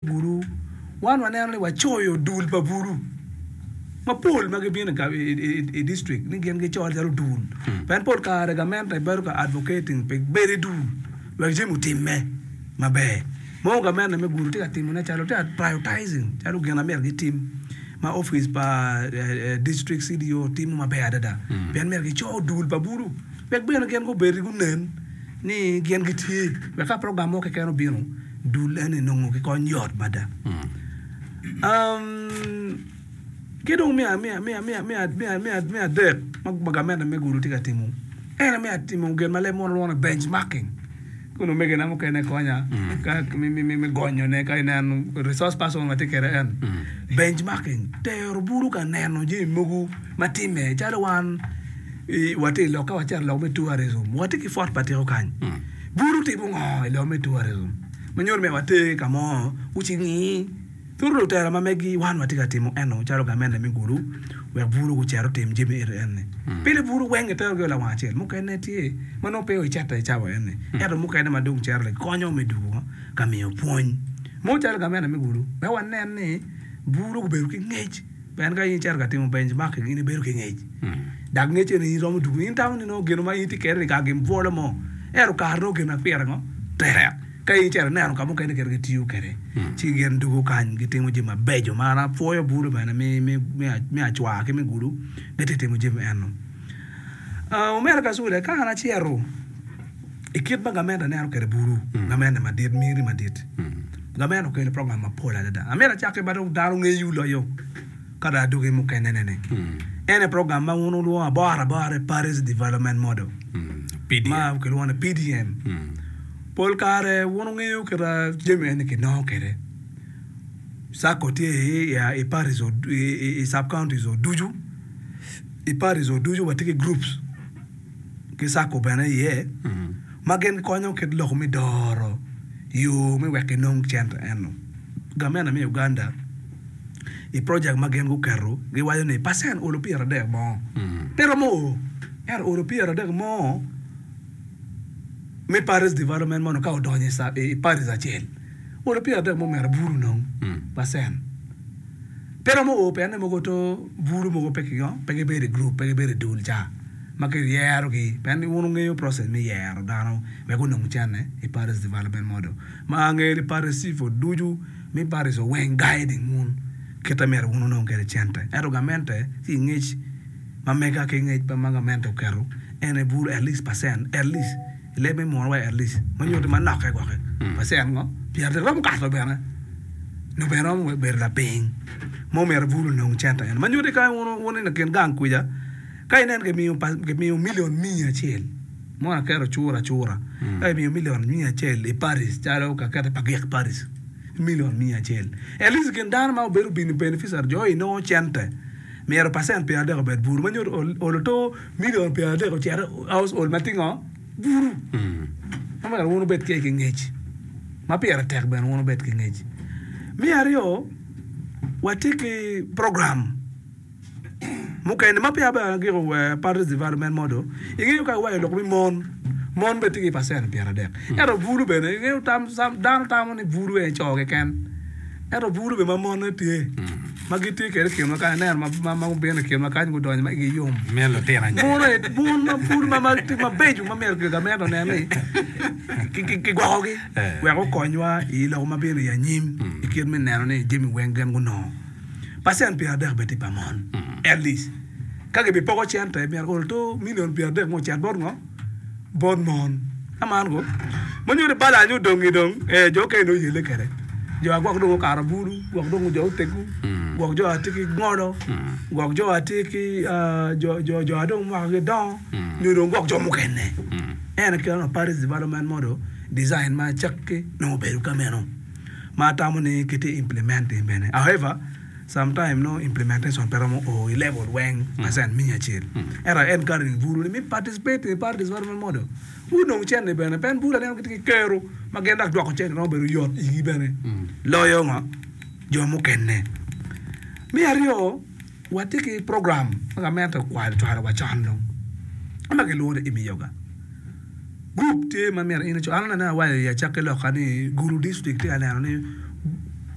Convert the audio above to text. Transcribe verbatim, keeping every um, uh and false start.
Bulu, Wan waneno ni wacoyo dul pa bulu mapol ma gibino i district ni gin gicol calo dul pien pol kare gamente bedo ka advocating pi bedo i dul wek jami otimme maber. Mogo gamente me Gulu tye ka timone calo tye ka prioritizing calo gin ma myero gitim ma opic pa district C D O timo maber adada pien myero gico dul pa bulu wek bene gin gubed gunen ni gin gitye wek ka program mo keken obino dul eni nongo ki kony yot mada. Ki dong me adek ma gamente me Gulu tye ka timo en aye me timo gin ma leb munu lwongo ni benchmarking kun omegina mukene konya me gonyone ka ineno resource person ma tye kwede en benchmarking tero bulu ka neno jami mogo ma timme calo wan watye i lok ka wacito i lok me tourism watye ki Fort pa Tiko kany bulu timo ngo i lok me tourism ma nyuto ni water ka mo gucingi turu lutela ma megi wan watye ka timo eno calo gamente me Gulu wek bulu gucit otim jami eni eni pile bulu weng giterogi lawang acel mukene tye ma nongo pe ocito i cawa eni ento mukene ma dong cito konyo me dwogo ka miyo pwony mo calo gamente me Gulu wek wanen ni bulu gubedo ki ngec pien ka in icito ka timo benchmarking in ibedo ki ngec dok ngec eni in iromo dwogo in itamo ni nongo gin ma in itye kwede-ni kara gin bwolo mo ento kare nongo gin ma pire ngo tek ka in icito ineno ka mukene kit ma gitiyo kwede ci gin dwogo kany gitimo jami mabeco ma an apwoyo bulu bene me acwar ki me Gulu gitye ka timo jami eno omera Kacule ka an acito i kit ma gamente neno kwede bulu gamente madit miti madit gamente okelo program mapol adada amito acak ki ma dong dano ngeyo loyo ka dong adwogi mukene ni en aye program ma wun wulwongo abora abora ni Parish Development Model ma kilwongo ni P D M. Pol kare wun wungeyo kit ma jami eni kinongo kwede SACCO tye i parish i sub counties ducu i parish ducu watye ki groups ki SACCO bene iye ma gin konyo kit lok me doro yo me wek kinong cente eno gamente me Uganda i project ma gin guketo giwaco ni percent olo pyeradek mo pe romo o ento olo pyeradek mo me parish development mono ka odonyo i parish acel olo pyeradek mo myero bulu onong percent pe romo o pien ni mogo to bulu mogo pe gibedo i group pe gibedo i dul ca ma kiyerogi pien wun wungeyo process me yero dano wek onong cente i parish development model ma angeyo ni parish chief ducu me parish weng guiding wun kite myero wun wunong kwede cente ento gamente ki ngec ma mega ki ngec ma gamente oketo en aye bulu at least percent at least i leb me munu wa at least ma nyuto ni manokke gwoki percent ngo pyeradek romo kato bene nyo bene romo bedo lapiny ma omyero bulu onong cente eno ma nyuto ni ka wun i kin gang kwica ka inen kimiyo million miya acel mo aketo cura acura ka kimiyo million miya acel i parish calo ka kete Pagik parish million miya acel at least i kin dano ma obedo beneficiary jo inongo cente myero percent pyeradek obed bulu ma nyuto olo to million pyeradek ocito household ma tye ngo bulu ma myero wun wubed ki ngec ma pire tek bene wun wubed ki ngec me aryo watye ki program mukene ma peya bene agiko parish development model ingeyo ka iwaco lok me mon mon bene tye ki percent pyeradek ento bulu bene ingeyo dano tamo ni bulu aye co keken ento bulu bene ma monne tye ma gitye kwede i kinwa kany ineno ma gubino i kinwa kany gudonyo ma igi yom mon ma bulu mabeco ma myero gamente onen ni kigwokogi wek okonywa i lok ma bino i anyim i kit me neno ni jami weng gin gunongo percent pyeradek bene tye pa mon at least ka gibipoko cente myero olo to million pyeradek mo ocit bot ngo bot mon aman ko ma nyuto ni balance odongi dong jo okene dong oyelle kwede jo a gwok dong okato bulu gwok dong jo oteggu gwok jo atye ki ngolo gwok jo atye ki jo a dong mwakagi dongo nyo dong gwok jo mukene en aye kit parish development model design ma acakki nongo obedo ka meno ma atamo ni kitye implementing bene however sometime no implementation pe romo o i level weng percent miya acel ento I encouraging bulu ni me participate in parish development model gunong cente bene pien bulu aneno gitye ki kero ma gin dok dwoko cente romo bedo yot igi bene loyo ngo jo mukene me aryo watye ki program ma gamente ocwalo wa con dong ma kilwongo ni Emyooga group tye ma myero in ico an aneno awaco i acakki loka ni Gulu district tye ka neno ni